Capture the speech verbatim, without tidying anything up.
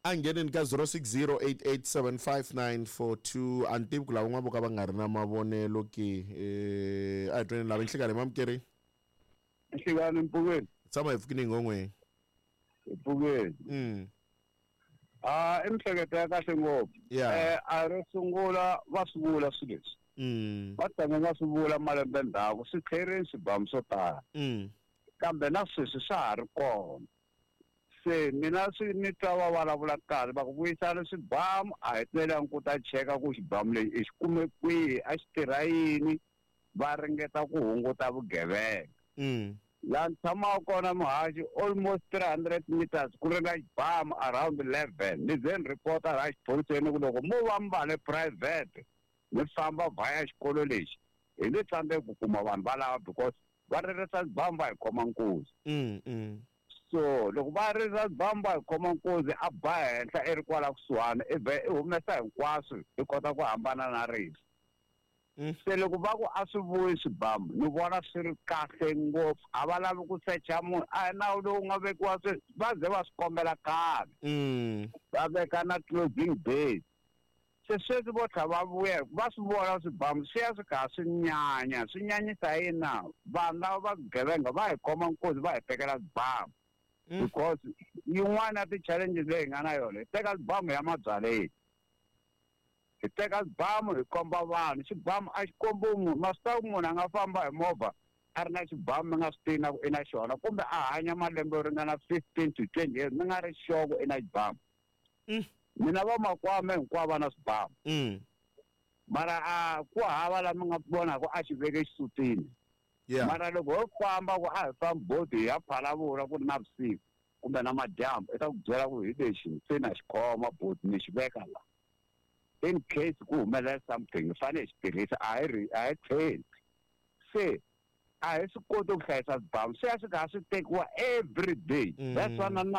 A ngheneni ka zero six zero eight eight seven five nine four two. A ni tivi ku lava van'wana vo ka va nga ri na mavonelo ke. eh a hi tweni lava. Nhlikani, mamukeri. Nhlikani, mpfukeni. Tshama hi pfukini ngongweni. Hi pfukeni. mm Ah, i mihleketo ya kahle ngopfu. Yeah. eh a ro sungula va swi vula swilo leswi. Mm va tanga nga swi vula malembe ndzhaku, swi tlherini swibamu swo tala, mm kambe na sweswi swa ha ri kona. Se mina swi ni twa va vulavula kahle, va ku vuyisana swibamu, a hi twelangi ku ta cheka ku xibamu lexi i xi kume kwihi, a xi tirha yini. Va ringeta ku hunguta vugevenga. Mm laha ni tshamaka kona, muhaxi, almost three hundred meters ku ri na xibamu around eleven. Ni ze ni report-a laha xiphoriseni ku loko mo va mi va le private mi famba vhaya xikolo lexi, hi nge tsandzeki ku kuma vanhu valava, because va ririsa xibamu, va hi khoma nkuzi. mm mm So loko va ririsa xibamu, va hi khoma nkuzi, a ba henhla i ri kwala kusuhani, i vhe i humesa hinkwaswo, i kota ku hambana na rifu. Mm. Se loko va ku a swi vuyi swibamu, ni vona swi ri kahle ngopfu. A va lavi ku secha munhu, a hi nawu lowu nga vekiwa sweswi, va ze va swi kombela khale. Mm va veka na closing date. Se sweswi vo tlha va vuya, va swi vona swibamu swi ya swi kha swi nyanya. Swi nyanyisa yini na vanhu lava va vugevenga va hi khoma nkosi, va hi tekela swibamu, Mm. because yin'wana ya ti-challenges leyi hi nga na yona, hi teka swibamu ya mabyaleni, hi teka swibamu hi komba vanhu. Xibamu a xi kombi munhu. Ma swi tiva ku munhu a nga famba hi movha a ri na xibamu, mi nga swi tivi na ku i na xona, kumbe a hanya malembe yo ringana fifteen to twenty years, mi nga ri sure ku i na xibamu. Mm. Mina vamakwame hinkwavo va na swibamu, mm mara a ku hava la mi nga vonaka a xi veke xisutini. Yeah mara loko ho famba ku a hi fambi boti hi ya Phalavula, ku ri na vusiku kumbe na madyambu, i ta ku byela ku hi lexi se na xi khoma boti, ni xi veka la in case ku humelela something, hi fanele hi xi tirhisa. A hi ri a hi tlheli se a hi swi koti ku hlayisa swibamu, swi ya swi kha swi tekiwa every day. Mm. That's why na na